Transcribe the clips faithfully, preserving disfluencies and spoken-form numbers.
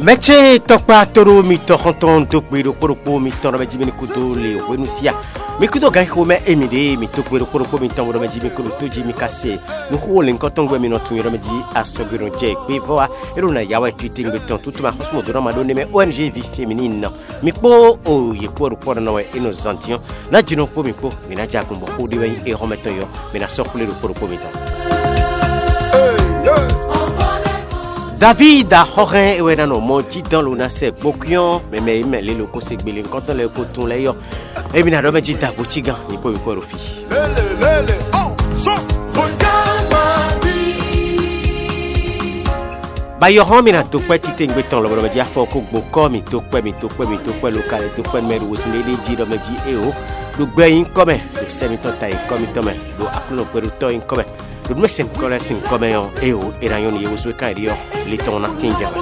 Mɛcɛ́ tɔkpá tóɖó mitɔn xɔ́ntɔn dó gbe ɖokpó ɖokpó mitɔn ɖɔ mɛ jí mi ní kúdó le hwenu síá. Mi kúdó ganxixo mɛ émi ɖě mi dó gbe ɖokpó ɖokpó mitɔn bó ɖɔ mɛ jí mi kó ɖo tó jí mi ka se. Nǔxó lěnkɔtɔn gbɛ mi nɔ tunwun ɖɔ mɛ jí asɔgbe nɔ jɛ gbé vɔ wá. É ɖo na yá wɛ titewungbe tɔn tútú ma xɔ́sú mɔ̌ dó nɔ ma ɖó nɛmɛ O N G vi féminine nɔ. Mi kpó o yě kpó ɖokpó nɔ wɛ é nɔ zan dín ɔ́. Ná jinɔ kpó mi kpó, mi ná ja gun bɔ xó ɖé wɛ nyí éhɔ́mɛtɔn yɔ, mi ná sɔ́ xwlé ɖokpó ɖokpó mitɔn. David axɔ́hɛn e wɛ ná nɔ mɔ jí dán lo ná sɛ gbokúnyɔ́ mɛmɛ e mɛ lě lo kó se gbele nukɔntɔn lɛ́ɛ kó tún lɛ́ɛ yɔ. Emi ná ɖɔ mɛ jí dagbo cí gán, nyí kpó mi kpó ɖo fí. Bayɔxɔn mi na dó kpɛ́ titewungbe tɔn lɔbɔlɔbɔ jí afɔ kó gbo kɔ́ mi dó kpɛ́ mi dó kpɛ́ mi dó kpɛ́ lokalɛ dó kpɛ́ nú mɛ ɖo wezun ɖé ɖé jí ɖɔ mɛ jí éwo ɖo gbɛ nyí kɔ́ mɛ ɖo sɛ mitɔn ta nyí kɔ́ mitɔn mɛ ɖo Aklúnɔ gbɛɖutɔ́ nyí kɔ́ mɛ ɖo nú mɛ sɛn kɔ́ lɛ́ɛ sín kɔ́ mɛ ɔ́ éwo é ná nyɔ́ nú yě wezun e kan yě ɖi ɔ́ le tɔn ná tín jɛ wɛ.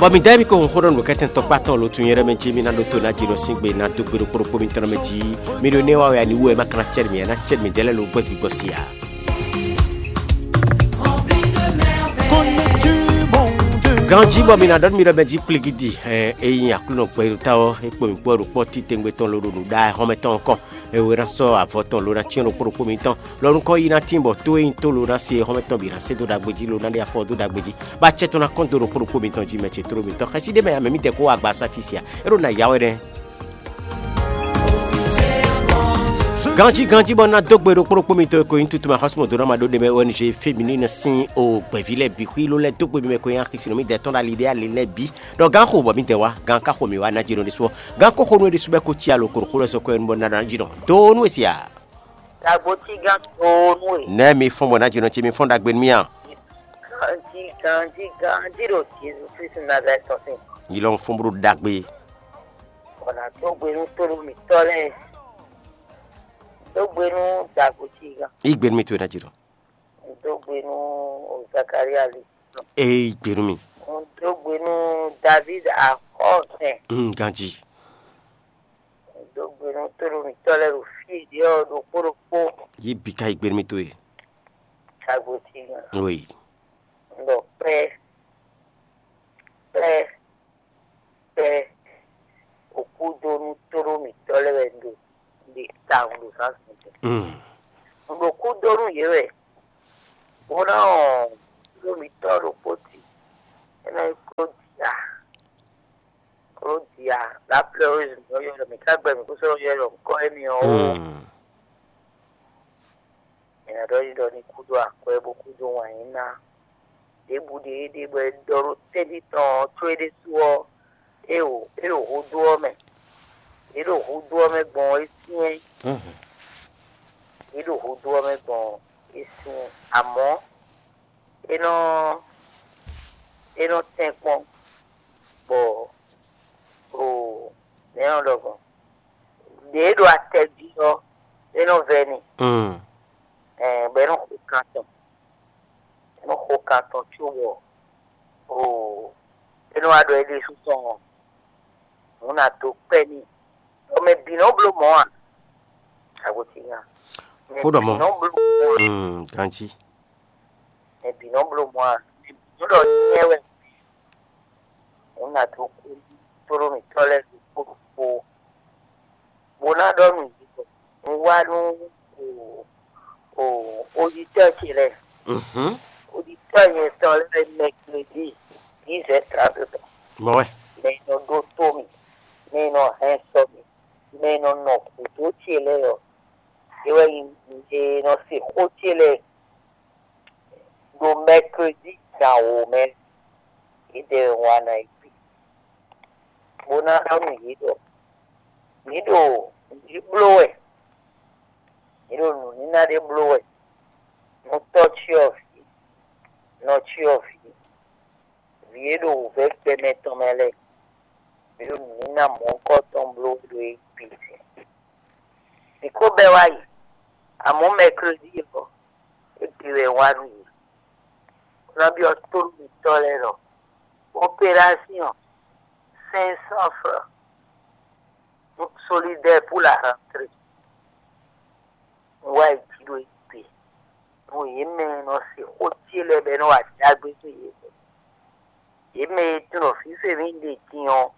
Bɔ mi dá mi ko hun xó ɖɔ nǔkɛtɛn tɔkpá tɔn lo tun nyɛ ɖɔ mɛ jí mi ná ɖótó ná jí nɔ sín gbe ná dó gbe ɖokpó ɖokpó mitɔn mɛ jí. Mi ɖo énɛ́ wa wɛ ani wú wɛ ma ka ná cɛ mi ná cɛ mi dɛ́ lɛ́ɛ lo gbɛ́ gbigbɔ si ǎ. Ganjí bɔ mi ná ɖɔ nú mi ɖɔ mɛ jí kpligidi, ɛ, é nyí Aklúnɔ gbɛɖotá ɔ́, é kpo mi kpó ɖo kpɔ́ titewungbe tɔn lo ɖo nǔɖaxɔ́mɛ tɔn kɔn, é wé ná sɔ́ avɔ tɔn lo ná cyɔ́n ɖokpó ɖokpó mitɔn, lɔ nukɔn yi ná tín bɔ tó e nyí tó lo ná se xɔ́mɛ tɔn bǐ ná se dó ɖagbe jí lo ná ɖe afɔ dó ɖagbe jí, bɔ acɛ tɔn ná kɔn dó ɖokpó ɖokpó mitɔn jí mɛ ce tló mitɔn. Xɛsi ɖé mɛ ame mi dɛ kó wá gba asáfí sia, é ɖo na ya wɛ nɛ́. Ganjí ganjí bɔ ná dó gbe ɖokpó ɖokpó mitɔn e ko nyí tutuma xɔ́súmɔ dó ná ma ɖó ɖe mɛ O N G féminine sín o gbɛ̌ví lɛ́ɛ bǐ xwí ló lɛ́ dó gbe mi mɛ ko nyí axisínɔ mi dɛ tɔn ɖo ali ɖé ali lɛ́ɛ bǐ. Ɖɔ gǎn xo bɔ mi dɛ wá, gǎn ka xo mi wá ná jí nɔ ɖésú ɔ́. Gǎn ko xo nú é ɖésú bɛ ko cí alo ko ɖo xó lɛ́ɛ sɔ́ kɔ ɛnu bɔ ná ná jí nɔ. Do nú e sia. Dagbo cí gán do nú e. Nɛ́ mi fɔ́n bɔ ná jí nɔ ce mi fɔ́n ɖagbe nú mì a? Ganjí ganjí ganjí ɖo Jezu Kristu Nazalɛ́ti tɔn sín. Yi lɔ fɔ́n bó ɖo ɖagbe. Bɔ nǎ dó gbe nú tónú mǐtɔn lɛ́ɛ. Dó gbe nú Dagbo cí gán. Yi gbe nú mi towe ná jí nɔ. Dó gbe nú Zakalía lí. É yi gbe nú mi. Dó gbe nú Davíd axɔ́sɛn. Mm, ganjí. Dó gbe nú tónú mǐtɔn lɛ́ɛ ɖo fí e ɖě ɔ́ ɖokpó ɖokpó. Yi bǐ ka yi gbe nú mi towe. Dagbo cí gán. Oui. Un ɖɔ pɛ́, pɛ́, pɛ́, òkúdónú tóɖó mǐtɔn lɛ́ɛ wɛ un ɖo ɖe tawun ɖo zǎnzǎn tɔn. Mm. Un ɖo kúdónú yě wɛ, bó ná ɔn tóɖó mǐtɔn ɖokpó ti, é ná nyí Klódia. Klódia, la pleureuse mǐ nɔ ylɔ́ ɖɔ mǐ ka gbɛ mǐ kó sɔ́ ylɔ́ ɖɔ ŋkɔ́ énɛ́ ɔ́ ó. Mm. È nǎ ɖɔ ɖiɖɔ ní kúdó akwɛ́ bó kúdó wǎn yí ná. Ɖěbǔ ɖě é ɖe bɔ è ɖɔ ɖó tɛ́ntin tɔn ɔ́ có é ɖésú ɔ́, é ɖo é ɖo húdú ɔ́ mɛ. Yě ɖo húdú ɔ́ mɛ gbɔn ɔ́, é syɛ́n. Mhm. Yě ɖo húdú ɔ́ mɛ gbɔn ɔ́, é syɛ́n. Amɔ̌ é nɔ é nɔ tɛ́n kpɔ́n bɔ o nɛ̌ nɔ ɖɔ gbɔn. Ɖě e ɖo atɛ jí ɔ́, é nɔ vɛ́ n'i. Mm. Ɛɛ, bɔ é nɔ xo kan tɔn. É nɔ xo kan tɔn cóbɔ oo, é nɔ wá ɖɔ é ɖésú tɔn ɔ́, nǔ ná dó kpɛ́ n'i. Bɔ mɛ bǐ nɔ bló mɔ̌ a? Agotínya. Mɛ Xó ɖɔ bǐ mɔ̌. Nɔ bló mɔ̌ a? Mm, ganjí. Mɛ bǐ nɔ bló mɔ̌ a? Mɛ bǐ nɔ ɖɔ nyɛ wɛ. Nǔ ná dó kú tóɖó mǐtɔn lɛ́ɛ ɖokpó ɖokpó. Bó ná ɖɔ nǔ yě bɔ un wá nú o o oditɔ́ ce lɛ́ɛ. Mhm. Oditɔ́ nyɛ tɔn lɛ́ɛ mɛgledi dix heures trente tɔn. Mɔ wɛ. Mɛ e nɔ ɖótó mì, mɛ e nɔ hɛn sɔ mì, mɛ e nɔ nɔ gǔdo ce lɛ́ɛ ɔ́, é wɛ nyí mɛ e nɔ se xó ce lɛ́ɛ ɖo mɛgledi gan wǒ mɛ. Yědɛɛ wɛ un wá ná yi gbe, bó ná ɖɔ nú yě ɖɔ: Mǐ ɖo nǔɖé bló wɛ, mǐ ɖo nǔníná ɖé bló wɛ, nú tɔ́cyɔvǐ, nɔcyɔvǐ, vǐ e ɖo wǔvɛ́ gbɛmɛ tɔn mɛ lɛ́ɛ, mǐ ɖo nǔníná mɔ̌hunkɔtɔn bló wɛ ɖo Ejípiti. Mǐ ko bɛ́ wá yi, amɔ̌ mɛklódi ɔ́, égbé wɛ un wá nú yě. Un ná byɔ́ tónú mǐtɔn lɛ́ɛ ɖɔ: Opération cinq cents francs solidaires pour la rentrée. Un wá yi jǐ ɖo Ejípiti. Nú yě mɛ e nɔ se xó ce lɛ́ɛ bɔ é nɔ wa ɖagbe dó yě mɛ. Yě mɛ e tunɔ fífɛ́ mì ɖe din ɔ́,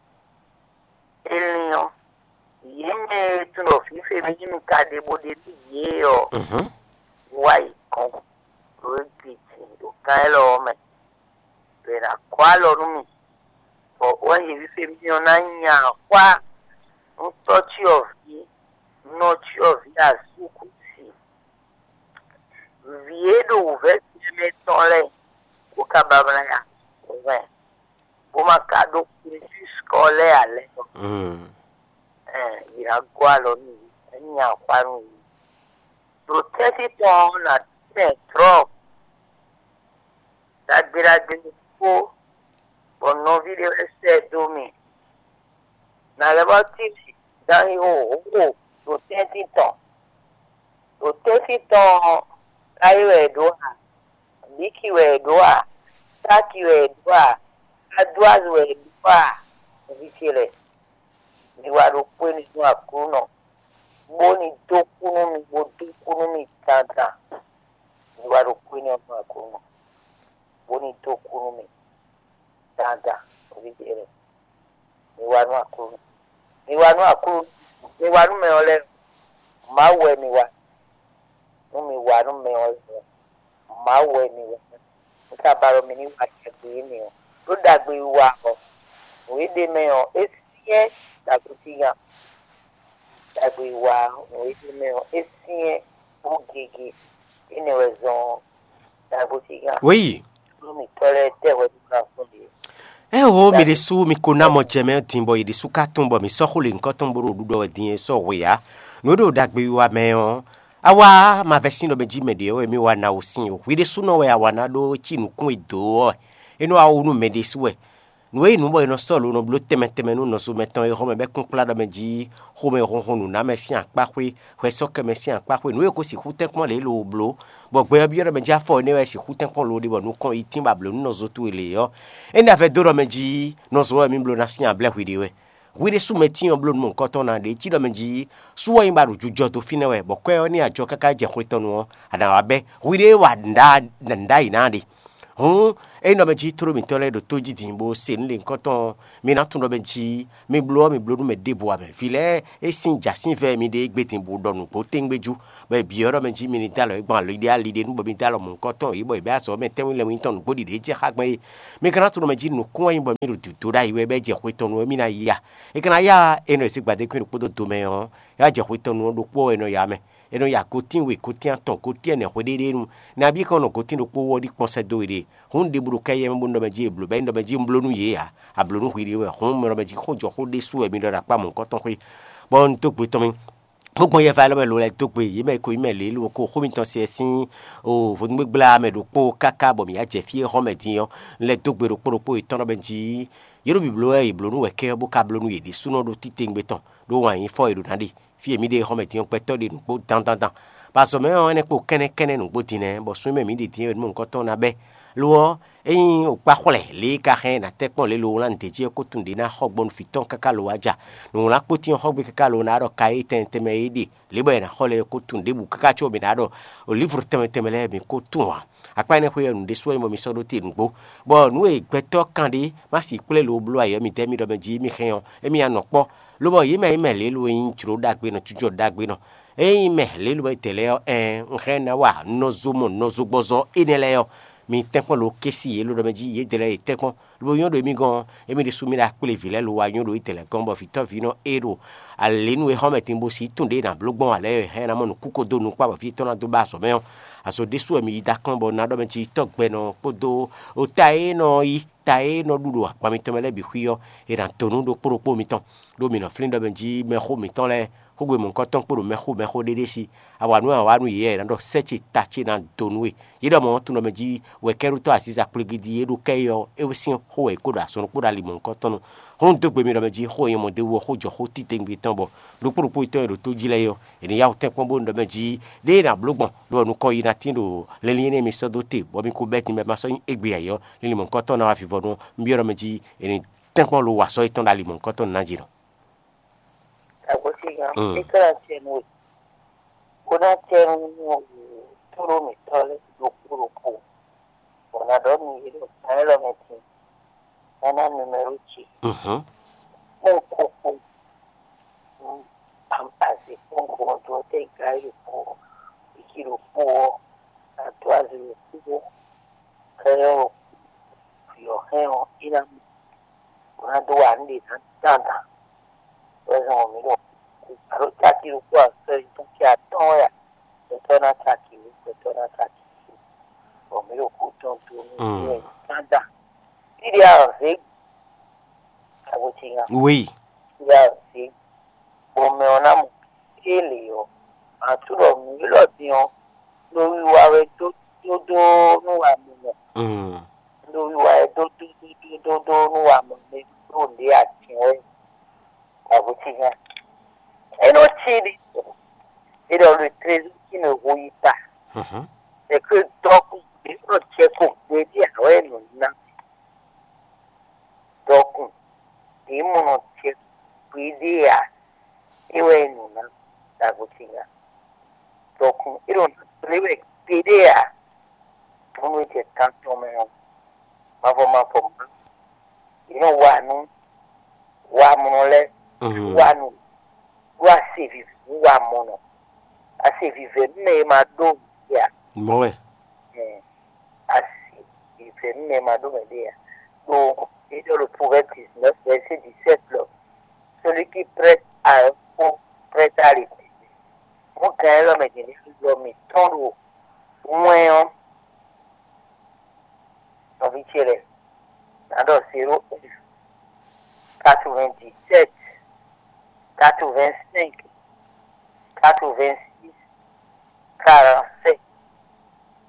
é lín ɔ́, yě mɛ e tunɔ fífɛ́ mì mi ka ɖe bó ɖe nú yě ɔ́, wá yi gɔ̌n ɖo égbé din ɖo kan élɔ́ ɔ́ mɛ, bɔ è nǎ gɔ́ alɔ nú mì, bɔ wá yi fífɛ́ mì ɔ́ ná nya xwá nú tɔ́cyɔvǐ, nɔcyɔvǐ asúkúsi, vǐ e ɖo wǔvɛ́ ce mɛ tɔn lɛ́ɛ, bó ka ba mlá ya hwɛ̌n, bó ma ka ɖó kúnjúskɔ lɛ́ɛ ǎ lɛ́ɛ ɔ́, yě ná gɔ́ alɔ nú yě, ná nya xwá nú yě. Ɖo tɛ́ntin tɔn ɔ́, nǎ tínmɛ trɔ́ ɖagbe ɖagbe ɖokpó, bɔ nɔví ɖé wɛ sɛ dó mì. Nǎ lɛ́ vɔ́ tínmɛ dán yi xóxó ɖo tɛ́ntin tɔn. Ɖo tɛ́ntin tɔn ɔ́, káyí wɛ è ɖǒ a? Bǐki wɛ è ɖǒ a? Sáki wɛ è ɖǒ a? Adwázi wɛ è ɖǒ a? Nɔví ce lɛ́ɛ, mi wá ɖokpó énɛ́ nú Aklúnɔ, bó ní dó kú nú mi, bó dó kú nú mi dandan. Mi wá ɖokpó énɛ́ nú Aklúnɔ, bó ní dó kú nú mi dandan. Nɔví ce lɛ́ɛ, mi wá nú Aklúnɔ, mi wá nú Aklúnɔ, mi wá nú mɛ ɔ́ lɛ́ɛ. Mawu wɛ mi wá, nú mi wá nú mɛ ɔ́ lɛ́ɛ. Mawu wɛ mi wɛ. Mi ka ba ɖɔ mi ní wa ɖagbe énɛ́ ɔ́, ɖó ɖagbe wiwa ɔ́, nǔ e ɖ'é mɛ ɔ́, é syɛ́n ɖo agɔ́síngán. Ɖagbe wiwa ɔ́, nǔ e ɖ'é mɛ ɔ́, é syɛ́n bó gege. Énɛ́ wɛ zɔ́n ɔ́, ɖo agɔ́síngán. Wéyi. Nú mǐtɔn lɛ́ɛ tɛ́ hwɛ nú ná fún ɖě. Éeǒ, mi ɖésú mi ko ná mɔ jɛ mɛ din bɔ yě ɖésú ka tunwun bɔ mǐ sɔ́ xó lěhunkɔtɔn bó ɖo ɖuɖɔ wɛ din e sɔ́ hwe ǎ. Nǔ e ɖo ɖagbe wiwa mɛ ɔ́, a wá ma vɛ́ sín ɖɔ mɛ jí mɛ ɖě ɔ́ wɛ mì wa ná wǔ sín o. Hwi ɖésúnɔ wɛ a wa ná ɖó cí nǔkún e dǒ ɔ́ wɛ. É nɔ wá wú nú mɛ ɖésú wɛ. Nǔ e nyí nǔ bɔ è nɔ sɔ́ lo nɔ bló tɛnmɛ tɛnmɛ nú nɔzo mɛtɔn e xɔmɛ bɛ́ kúnkplá ɖɔ mɛ jí xomɛ hunhun nǔnámɛ sín akpáxwé, hwɛsɔ́kɛmɛ sín akpáxwé, nǔ e ko sixú tɛ́nkpɔ́n lě lo bló, bɔ gbɛ ɔ́ byɔ́ ɖɔ mɛ jí afɔ énɛ́ wɛ sixú tɛ́nkpɔ́n lo ɖe bɔ nukɔn yi tín ba blǒ nú nɔzo towe lě ɔ́, é ní vɛ́ dó ɖɔ mɛ jí nɔzo ɔ́ wɛ mì bló ná sín ablɛ́ hwi ɖe wɛ. Hwi ɖésú mɛ tíin ɔ́ bló nú mɔ̌hunkɔtɔn ná ɖě cí ɖɔ mɛ jí sú ɔ́ nyí ba ɖo jujɔ dó fínɛ́ wɛ, bɔ kwɛ́ ɔ́ ní ajɔ káká jɛ xwe tɔn nu ɔ́, a nǎ wá bɛ́. Hwi ɖée wa nǔɖá nǔɖá yi ná ɖe. Hǔn, ényí ɖɔ mɛ jí tló mǐtɔn lɛ́ɛ ɖo tó jí din bó se nǔ lěhunkɔtɔn ɔ́, mi ná tunwun ɖɔ mɛ jí mi bló ɔ́, mi bló nú mɛ ɖěbǔ ǎ mɛ. Vǐ lɛ́ɛ é sín jǎ sín vɛ́ mi ɖe égbé din bó ɖɔ nǔgbó téŋgbéjú, bɔ è byɔ́ ɖɔ mɛ jí mi ní dó alɔ é gbɔn ali ɖé ali ɖé nú bɔ mi dó alɔ mɔ̌hunkɔtɔn yě bɔ yě bɛ́ azɔ̌ mɛ tɛ́nwún lɛ́ɛ nyí tɔn nǔgbó ɖiɖě jɛ xá gbɛn é. Mi ka ná tunwun ɖɔ mɛ jí nǔkún wɛ nyí bɔ mi ɖo dǐdó ɖ'ayǐ wɛ bɔ é jɛ xwe tɔn nu wɛ mi ná yi a? É ka ná ya énɛ́ e zé gbadékwín ɖokpó dó do mɛ ɔ́, é wá jɛ xwe tɔn nu ɔ́ ɖokpó wɛ é nɔ ya mɛ. É nɔ ya gotín we, gotín atɔn, gotín ɛnɛ hweɖéɖénu. Nabí kɔn nɔ gotín ɖokpó wú ɔ́ ɖi kpɔ́n sɛ́ dó we ɖe. Hǔn un ɖe bú ɖo kɛ yɛ mɛ bó nɔ mɛ jí è blǒ, bɔ é nɔ mɛ jí un bló nú yě ǎ. A blǒ nú hwi ɖé wɛ, hǔn mɛ nɔ mɛ jí xó jɔ xó ɖésú wɛ mi ɖɔ ɖo akpá mɔ̌hunkɔtɔn xwé. Bɔ un dó gbe tɔn mì, bó gbɔn yɛva élɔ́ mɛ lo lɛ́ dó gbe yě mɛ ko yí mɛ lě lo ko xó mitɔn se sín o vodúngbégbla mɛ ɖokpó káká bɔ mǐ ya jɛ fí e xɔ́ mɛ din ɔ́, un lɛ́ dó gbe ɖokpó ɖokpó yětɔn ɖɔ mɛ jí yě ɖo bǐbló wɛ yě bló nú wɛ kɛ ɔ́, bó ka bló nú yě ɖésúnɔ ɖó títewungbe tɔn, ɖó wǎn yí fɔ e ɖo ná ɖe. Fí e mǐ ɖe xɔmɛ din ɔ́, gbɛtɔ́ ɖe nǔgbó dandandan. Bɔ azɔ̌ mɛ ɔ́, énɛ́ kpo kɛ́nnɛ́ kɛ́nnɛ́ nǔgbó din nɛ́, bɔ sun e mɛ mǐ ɖe din é wɛ nú mɔ̌hunkɔtɔn ná bɛ́. Lo ɔ́, ényí o kpá xwlɛ lě e ka hɛn ná tɛ́ kpɔ́n lě lo wlán nǔɖé jí ɔ́, ko tunwun ɖě ná xɔ gbɔn nú vǐ tɔn káká lo wá ja. Nǔwlánkpo tín ɔ́ xɔ gbe káká lo ná ɖɔ ka e tɛnmɛ tɛnmɛ e ɖe lě bɔ è nǎ xɔ lɛ́ɛ ko tunwun ɖěbǔ káká có mǐ ná ɖɔ olǐvru tɛnmɛ tɛnmɛ lɛ́ɛ mǐ ko tunwun ǎ. Akpá énɛ́ xwé ɔ́, nǔ ɖésú wɛ nyí bɔ mi sɔ́ ɖó te nǔgbó, bɔ nǔ e gbɛtɔ́ kan ɖé má sixú kplé lo bló ayǐ ɔ́, mi dɛ́ mi ɖɔ mɛ jí mi hɛn ɔ́, émí ná nɔ kpɔ́. Lobɔ yě mɛ e nyí mɛ lě lo e nyí jlǒ ɖagbe nɔ, jújɔ ɖagbe nɔ, é nyí mɛ lě lo e tɛ̌ lɛ́ɛ ɔ́, ɛɛn, un hɛn ná wa nɔzo mɔ nɔzo gbɔzɔ énɛ́ lɛ́ɛ ɔ́, mi tɛ́nkpɔ́n lo kɛ́ sí yě lo ɖɔ mɛ jí yědɛɛ lɛ́ɛ yě tɛ́nkpɔ́n. Lobo nyɔ́ ɖo émí gɔ́n ɔ́, émí ɖésú mí ɖo akpléví lɛ́ɛ lo wá nyɔ́ ɖo étɛ́ lɛ́ɛ gɔ́n, bɔ vǐtɔ́ví nɔ é ɖo alěnu e xɔ́mɛ din bó sí tun ɖě ná bló gbɔn ǎ lɛ́ɛ hɛn ná mɔ nǔkúko dó nukpá bɔ fí tɔn ná dó ba azɔ̌ mɛ ɔ́, azɔ̌ ɖésú wɛ mi yi dó akɔ́n bɔ ná ɖɔ mɛ jí tɔ́ gbɛ nɔ kpódó ota e nɔ yi ta e nɔ ɖu ɖo akpa mitɔn mɛ lɛ́ɛ bǐ xwí ɔ́, è nǎ dó nú ɖokpó ɖokpó mitɔn, ɖó mǐ nɔ flín ɖɔ mɛ jí mɛxó mǐtɔn lɛ́ɛ, xógbe mɔ̌hunkɔtɔn kpó ɖo mɛxó mɛxó ɖé ɖé sí. A wa nǔ e a wa nú yě, è nǎ ɖɔ sɛ́ ce ta ce ná dó nú we. Yě ɖɔ mɔ̌ tunwun ɖɔ mɛ jí wɛ kɛ́ɖótɔ́ azǐza kplégídí e ɖo kɛ́ é ɔ́, é sín xó wɛ è ko ɖo azɔn ɖokpó ɖo ali mɔ̌hunkɔtɔn tɔn nu. Hɔn dó gbe mi ɖɔ mɛ jí xó e nyɔ́ mɔ d'é wú ɔ́, xó jɔ xó títewungbe tɔn bɔ ɖokpó ɖokpó tɔn e ɖo tó jí lɛ́ɛ é ɔ́, è nǐ yá wǔ tɛ́nkpɔ́n bó nɔ ɖɔ mɛ jí ɖěe è nǎ bló gbɔn, ɖó nukɔn yi ná tín ɖo linlin énɛ́ mi sɔ́ dó te, bɔ mi ko bɛ́ din bɔ è ma sɔ́ nyí égbé ǎ é ɔ́, linlin mɔ̌hunkɔtɔn ná wá vivɔnu ɔ́, un byɔ́ ɖɔ mɛ jí è nǐ tɛ́nkpɔ́n lo wa sɔ́ yětɔn ɖo ali mɔ̌hunkɔtɔn ná jí nɔ. Agosígan, Mm. Ikla tiẹ̀ nù, kó ná tiẹ̀ nù tóɖó mǐtɔn lé. Élɔ́ mɛ tín, nana numéro ce. Mhm. Kpɔ́n kókó, azikpɔ́n kókó tó tɛ gáyé kó ìkí ɖokpó ɔ́, àdó azikpɔ́n kókó kɛyɔ́ vǐ ɔ́ hɛn ɔ́, é ná mɔ bó ná dó wa nǔ ɖé ná dandan. Wɛ zɔn mǐ ɖo alo caki ɖokpó asɔ́ yi tɔn kí atɔ́ɔ́n ya, gbɛtɔ́ ná caki wú, gbɛtɔ́ ná caki wú. Bɔ mǐ ɖo kú tɔn dó nú Mm. Yɛ Canada. Tíɖí azě agbo ce nya. Oui. Tíɖí azě bɔ mɛ ɔ́ ná mɔ kélé ɔ́. Àtú ɖɔ mǐ élɔ́ din ɔ́, ɖo wiwa wɛ dó dó dó nú wa mɔ mɛ. Mm. Ɖo wiwa wɛ dó dó dó dó dó dó nú wa mɔ mɛ ɖo ɖě atin wɛ. Agbo ce nya. É nɔ cí ɖi. É ɖɔ le trésor qui ne rouille pas. Mhm. C'est que donc, il faut checker pour dire, ah ouais, non, non. Donc, il faut checker pour dire, ah, é wɛ nǔ ná ɖagbo ce nya. Donc, é ɖo nǔ kplé wɛ kpéɖé ǎ. Bónú é jɛ kan tɔn mɛ ɔ́, mavɔ mavɔ má. Yě nɔ wa nú wamɔnɔ lɛ́ɛ Mhm. Wa nú ɖó ase vivɛ nú wamɔnɔ. Ase vivɛ nú mɛ e ma ɖó nǔ ǎ. Mɔ̌ wɛ. Asi, ìfẹ́ nú mɛ ma ɖó mɛ ɖé ǎ. Ɖó é ɖɔ ɖo Proverbe dix-neuf, verset dix-sept lɔ: celui qui prête à un fou prête à l'éternel. Mɔ̌ gǎn élɔ́ mɛ din ní lɔ mǐtɔn ɖo wɛn ɔ́, nɔví ce lɛ́ɛ, ná ɖɔ zéro un, quatre-vingt-dix-sept, quatre-vingt-cinq, quatre-vingt-six, quarante-sept.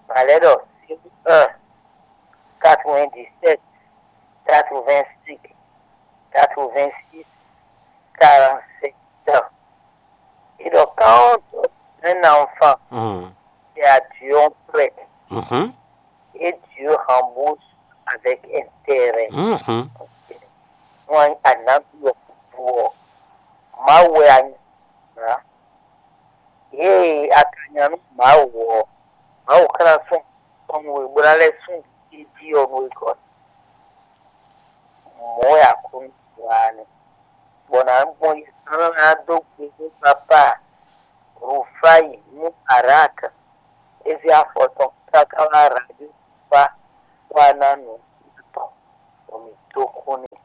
Malheur, zéro un, quatre-vingt-dix-sept, quatre-vingt-cinq, quatre-vingt-six, quarante-sept. Et donc, quand un enfant, Mhm. c'est à Dieu on prête. Mhm. Et Dieu rembourse avec intérêt. Mhm. Wọ́n á ná bí ọ̀pọ̀ ọ̀. Má wɛ anyà. Yě e a ka nya nú Mawu ɔ́, Mawu ka ná sún tɔn nú we, bó ná lɛ́ sún jí jí ɔ́ nú we gɔ́. Mɔ̌ wɛ Aklúnɔ wa nɛ́, bɔ nǎ gbɔn yi sán ná dó gbe nú Papá Rufáyi Mubarak, é zé afɔ tɔn káká wá Rajúfa wá ná nǔ tɔn, bɔ mǐ dó kú n'i.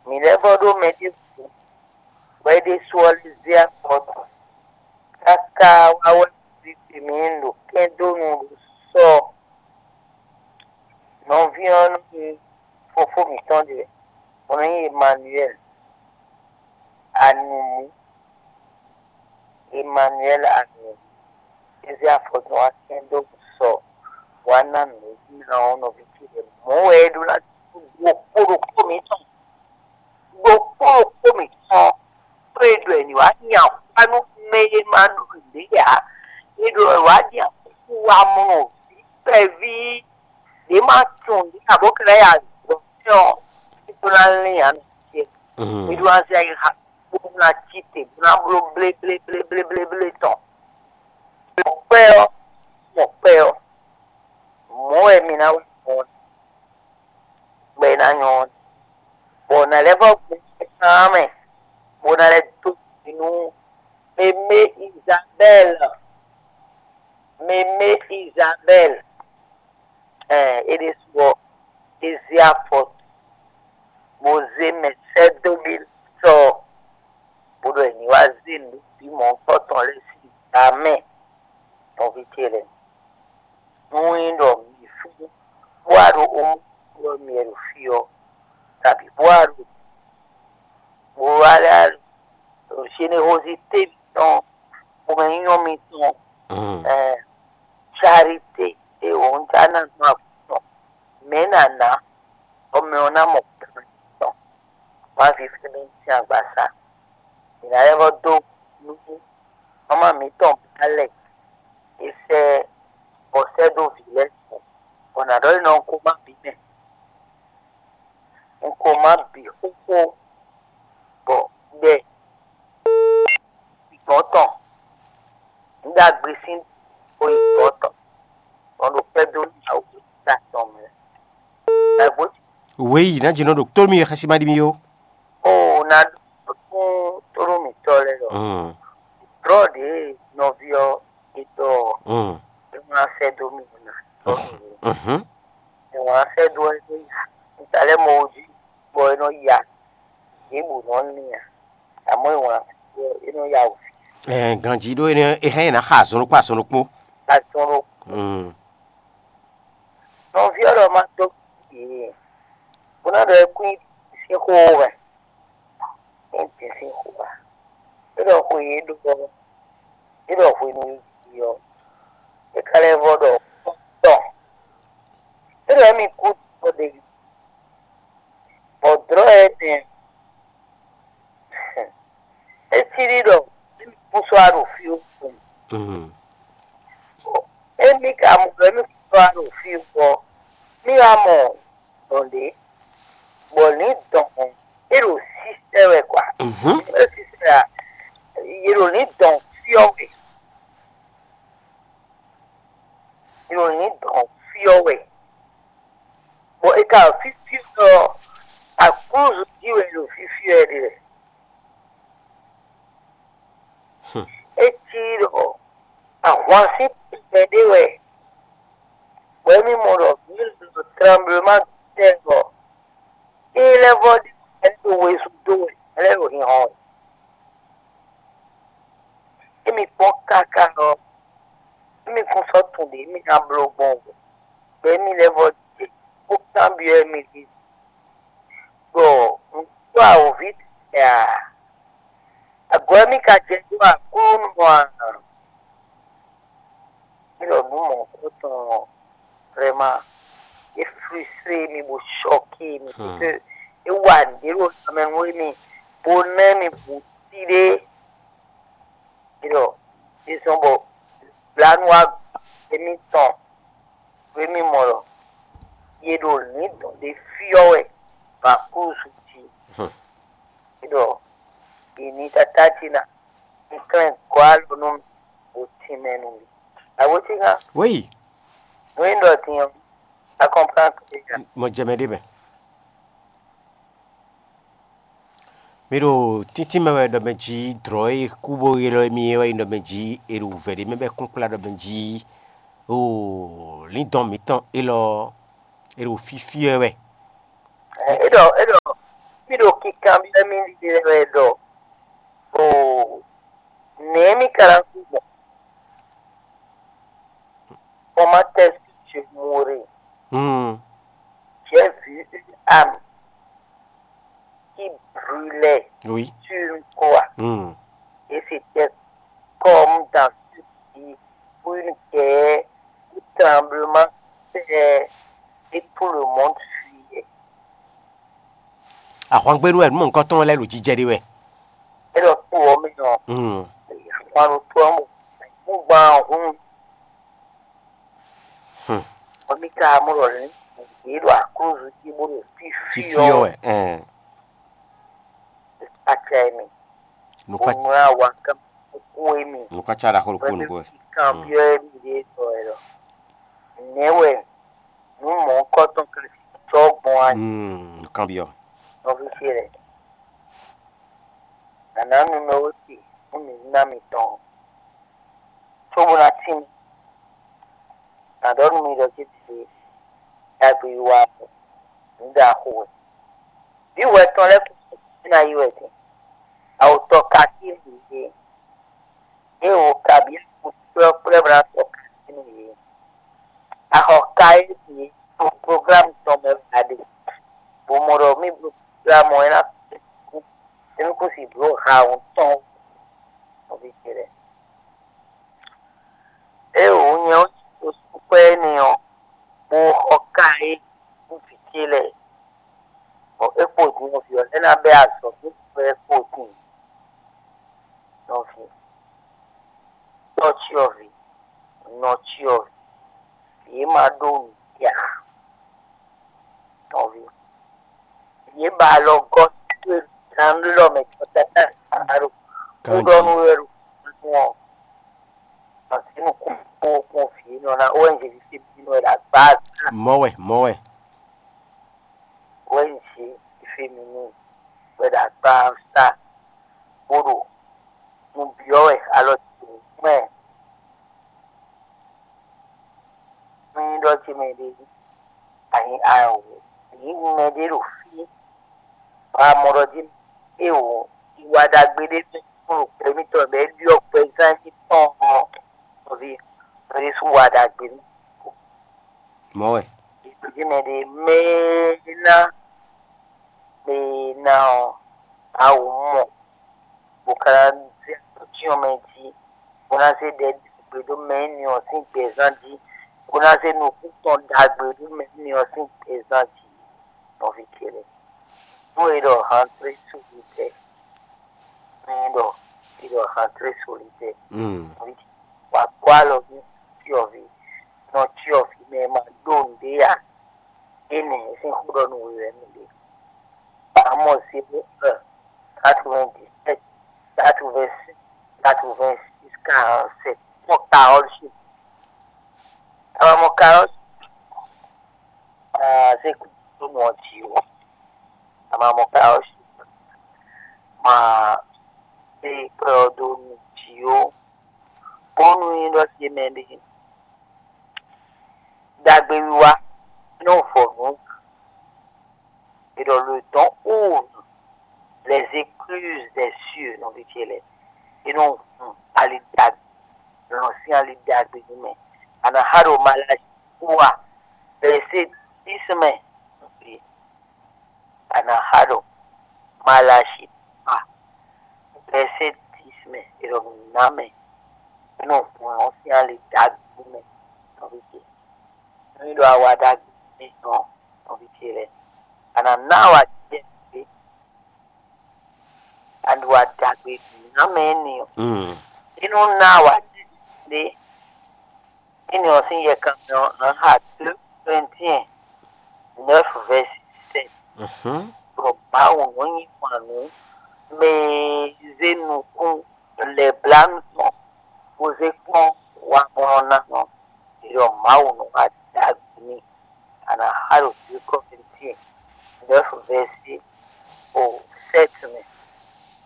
Mǐ lɛ́ vɔ́ ɖó mɛ ɖěbǔ, bɔ é ɖésú ɔ́ lɛ́ zé afɔ tɔn káká wá wɛ vǐ ce mǐ ɖo kɛ́n dó nu ɖo sɔ nɔví ɔ́ nú fofó mǐtɔn ɖe, bɔ nɔ nyí Emanuɛ́li. Anumú, Emanuɛ́li Anumú, é zé afɔ tɔn wá kɛ́n dó nu sɔ wá ná nǔ ná ɔ́ nɔví ce lɛ́ɛ. Mɔ̌ wɛ é ɖó ná dó kpó ɖokpó mǐtɔn. Ɖokpó ɖokpó mǐtɔn, ɖó è ɖɔ è ní wá nya xá nú mɛ e ma ɖo nǔɖé ǎ. È ɖɔ è wá nya xá nú wamɔnɔ ví kpɛví ɖě ma tunwun nǔɖé ǎ bó ka ná yi azɔ̌ tɛ́ ɔ́, é ɖó ná lín ǎ nɔ ce. È ɖó ná zé ayixa bó ná cí te bó ná bló bléblébléblé tɔn. Mɔ̌kpɛ́ ɔ́, mɔ̌kpɛ́ ɔ́, mɔ̌ wɛ mi ná wá mɔ ɔ́. Bɔ è nǎ nyɔ́ ɔ́, bɔ nǎ lɛ́ vɔ́ gbɔn kan mɛ, bó ná lɛ́ dó gbe nú Mémé Izabɛ́li. Mémé Izabɛ́li, ɛɛ, é ɖésú ɔ́, é zé afɔ, bó zé mɛ sɛ́ dó bí sɔ, bó ɖɔ è ní wá zé nǔ bǐ mɔ̌hunkɔtɔn lɛ́ɛ sín gbǎ mɛ, nɔví ce lɛ́ɛ. Nú nyí ɖɔ mǐ fún bó wá ɖo omú ɔ́ mì wɛ ɖo fí ɔ́, kabǐ bó wá ɖo bó wá lɛ́ ɖo Zenewozité mǐtɔn, xomɛnyínyɔ́ mǐtɔn, Mm. ɛɛ, charité e wǒ un já ná nú agun tɔn, mɛ̌ ná ná, bɔ mɛ ɔ́ ná mɔ kan tɔn, wá fífí nú sín agbaza. Mǐ ná lɛ́ vɔ́ dó nú mama mǐtɔn Balɛk e sɛ́ bɔ sɛ́ dó vǐ lɛ́ɛ tɔn, bɔ nǎ ɖɔ é nɔ un ko má bǐ mɛ. Un ko má bǐ xóxó, bɔ ɖɛ gbɔn tɔn, un ɖagbe sín xó yi gbɔn tɔn, bɔ un ɖo kpɛ́ dó nú Mawu ta tɔn mɛ. Wěyi ná jɛ nɔ ɖo tó mì xɛsi ma ɖi mì ó. O ná ɖó tún tónú mǐtɔn lɛ́ɛ ɔ́, Mm, drɔ̌ ɖě nɔví ɔ́ è ɖɔ ɔ́, mm, é wlán sɛ́ dó mì ná tɔ́ mì. Mhm. É wlán sɛ́ dó ɛ nɔ ya ta lɛ́ɛ mɔ jí, bɔ é nɔ ya yě bǔ nɔ ní a, àmọ́ é wlán sɛ́ dó ɛ nɔ ya wǔ. Ɛ, ganjí ɖó é nɔ é hɛn ná xa azɔn ɖokpó azɔn ɖokpó. Azɔn ɖo Mm. Nɔví ɔ́ ɖɔ má dó yě, bó ná ɖɔ é kún nyi sín xó wɛ, é nyi sín xó wá. É ɖɔ xwe yě ɖó ɔ́, é ɖɔ hwenu e jí ɔ́, é ka lɛ́ vɔ ɖɔ tɔn. É ɖɔ émí kú ɖɔ ɖe, bɔ dlɔ̌ ɛ nɛ é cí ɖi ɖɔ émí kún sɔ́ wá ɖo fí ó. Mm. Émí ka mɔ ɖɔ émí kún sɔ́ wá ɖo fí ó ɔ́, mí wá mɔ dɔn ɖě, bɔ lǐndɔn ɔ́, é ɖo sísɛ́ wɛ kwa. Mhm. É sísɛ́ wɛ a? Yě ɖo lǐndɔn fyɔ́ wɛ. Yě ɖo lǐndɔn fyɔ́ wɛ. Bɔ è ka ɖo fífí ɔ́, aklúzu jí wɛ è ɖo fífí ɔ́ ɖe lɛ. Hmm. É cí ɖɔ ahwan sín tɛnmɛ ɖé wɛ, bɔ émí mɔ ɖɔ mǐ ɖo tremblement de terre ɔ́, é lɛ́ vɔ ɖi mɛ ɖo wezun dó wɛ, mɛ lɛ́ɛ ɖo hinhɔn wɛ. Émí kpɔ́n káká ɔ́, émí kún sɔ́ tunwun ɖě émí ná bló gbɔn o, bɔ émí lɛ́ vɔ jɛ bó kanbyɔ́ émí ɖi ɖɔ un dó awǒvi tɛgbɛ a? Agɔ̌ émí ka jɛ dó Aklúnɔ a? Mí ɖɔ nǔ mɔ̌hunkɔtɔn ɔ́, vraiment, é frustré mì bó choqué mì, Hmm. Parce que é wa nǔɖé ɖo lanmɛ nú émí, bó ná émí bǔ sí ɖé. Mí ɖɔ é zɔ́n bɔ blǎnu wá émítɔn, nú émí mɔ ɖɔ yě ɖo lǐndɔ̌n ɖé fyɔ́ wɛ ɖo aklúzu jí. Hmm. Mí ɖɔ è ní tátájí ná, un klɛ́n gɔ́ alɔ nú mì, bó tínmɛ nú mì. Awǒjínga, Oui, nǔ e un ɖɔ din ɔ́, a kɔnplán kpé nya. Mo jɛ mɛ ɖé mɛ. Mi ɖo tíntín mɛ wɛ ɖɔ mɛ jí dlɔ̌ e kú bó ylɔ́ émí é wɛ nyí ɖɔ mɛ jí è ɖo wǔvɛ́ ɖé mɛ bɔ é kún kplá ɖɔ mɛ jí oo lǐndɔ̌n mǐtɔn élɔ́ è ɖo fífí wɛ wɛ. É ɖɔ é ɖɔ mí ɖo kinkanbyɔ́ mì ɖiɖe wɛ ɖɔ oo nɛ̌ mí ka ná kú gbɔn? Comment est-ce que tu mourrais? Hmm. J'ai vu une âme qui brûlait Oui. Sur une croix. Hmm. Et c'était comme dans ce pays où une guerre, un tremblement de terre et tout le monde fuyait. Ahwangbénu wɛ nǔ mɔ̌hunkɔtɔn lɛ́ɛ ɖo jijɛ ɖe wɛ. É ɖɔ kpó ɔ́ mɛ ɔ́, Hmm. Ahwan ɖo tó ɔ́ mɔ, nú gbán ɔ́ hún. Hmm. Ɔ́ mí ka mɔ ɖɔ lɛ̌n yě ɖo aklúzu jí bó ɖo fífí Fífí ɔ́ ɔ́ wɛ. Ɛn. Acɛ mi. Nukpa Bó nú awa kán kú émi. Nukpa ca ɖaxó ɖokpó nukó wɛ. Kanbyɔ́ émi ɖě tɔ ɛ lɔ. Nɛ̌ wɛ nǔ mɔ̌hunkɔtɔn ka sixú cɔ́ gbɔn a? Hmm, kanbyɔ́. Nɔví ce lɛ́ɛ. Nǎ ná nu mɛ wé se nú mǐ ná mitɔn, cóbó ná tín mì. Nǎ ɖɔ nú mi ɖɔ céɖiɖe, ɖagbe wa ɔ́, nǔ ɖaxó wɛ. Vǐ hwɛ tɔn lɛ́ɛ kún sixú ná yi wɛ din. Awotɔ ka tín nǔ yě. Ée wǒ kabǐ kplɔ́kplɔ́ bó ná sɔ́ kɛ́n nú yě. Axɔ ka e yě ɖo programme tɔn mɛ wɛ a ɖe, bó mɔ ɖɔ mí bló programme ɔ́, é ná kú, é ní kú si bló ha wǔ tɔn nɔví ce lɛ́ɛ. Ée wǒ nyɛ ɔ́, ko sú kwɛ́ énɛ́ ɔ́, bó xɔ ka e nú vǐ ce lɛ́ɛ, bɔ é kpo din ɔ́, vǐ ɔ́ lɛ́ ná bɛ́ azɔ̌ nú vǐ ɔ́ é kpo din. Nɔví, tɔ́ cyɔ́vǐ, nɔ cyɔ́vǐ, yě ma ɖó nǔ ya. Nɔví, yě ba alɔ gɔ́ towe gannú lɔ mɛ tɔn káká ɖo kúɖɔnú wɛ ɖo nú ɔ́. Màsínú kún kpó kún vǐ nɔ ná ó wɛ Jezu se bí nɔ wɛ ɖo agbá. Mɔ̌ wɛ, mɔ̌ wɛ. ɖɔ ce mɛ ɖé, ayi awo, yi mɛ ɖé ɖo fí, ba mɔ ɖɔ jí, e o, iwa ɖagbe ɖé fún ɖo gbɛ mitɔn bɛ ɖiɔ gbɛ zán jí tɔn ɔ, nɔví, ɖé sú wa ɖagbe nú. Mɔ̌ wɛ. Ìgbésí mɛ ɖé mɛ ná mɛ ná ɔ, awu mɔ bó ka ná zé atɔ́cyɔ́n mɛ jí, bó ná zé ɖɛ gbe dó mɛ énɛ́ ɔ́ sín gbɛzán jí, bó ná zé nukún tɔn ɖagbe dó mɛ énɛ́ ɔ́ sín gbɛzán jí. Nɔví ce lɛ́ɛ, nú è ɖɔ hantré solitɛ́, nú è ɖɔ è ɖɔ hantré solitɛ́, Mm. nɔví ce, wǎ kó alɔ nú cyɔ́ví, nɔ cyɔ́ví mɛ ma ɖó nǔɖé ǎ. Énɛ́ sín xó ɖɔ nú we wɛ mì ɖe. Amɔ zéro un, quatre-vingt-dix-sept, quatre-vingt-six, quatre-vingt-six, quarante-sept. Mɔ Carole Chip. Ama mɔ Carole Chip. Ah, c'est que tout le monde dit, oh. Ama mɔ Carole Chip. Ma c'est que tout le monde dit, oh. Bónú nyí ɖɔ ce mɛ ɖé. Ɖagbewiwa nɔ vɔ nǔ. Et dans le temps où les écluses des cieux, nɔví ce lɛ́ɛ, e nɔ hun ali ɖagbe, lɔn sín ali ɖagbe nú mɛ. Ana xa ɖo Malachi wa, verset dix mɛ. Ana xa ɖo Malachi wa, verset dix mɛ, e ɖɔ nǔ ná mɛ, e nɔ hun lɔn sín ali ɖagbe nú mɛ, nɔví ce. Nú ɖo awa ɖagbe nú mɛ tɔn, nɔví ce lɛ́ɛ. Ana ná awa jɛ ɖé, aɖu aɖagbe ná mɛ énɛ́ ɔ́. Mm. Inú ná wá ɖe énɛ́ ɔ́ sín yɛkanmɛ ɔ́, un xa deux Corinthiens neuf verset sept. Mhm. Ɖɔ Mawu nɔ nyi wǎn nú mɛ e zé nukún lɛ̌blánu tɔn bó zé kpɔ́n wamlɔ́ ná nɔ. Ɖɔ Mawu nɔ wá ɖagbe n'i. Ana xa ɖo deux Corinthiens neuf verset au sept mɛ.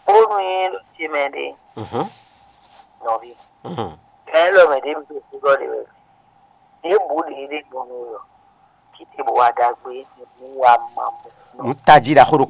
Bónú nyí ɖo ce mɛ ɖé, Mhm. nɔví. Mhm. Kɛn lɔ mɛ ɖé mi ɖo kúɖɔ ɖe wɛ. Ɖěbǔ ɖě ɖé gbɔn nú we ɔ́, kí te bó wá ɖagbe nú wa ma mɔ. Nǔ tají ɖaxó ɖo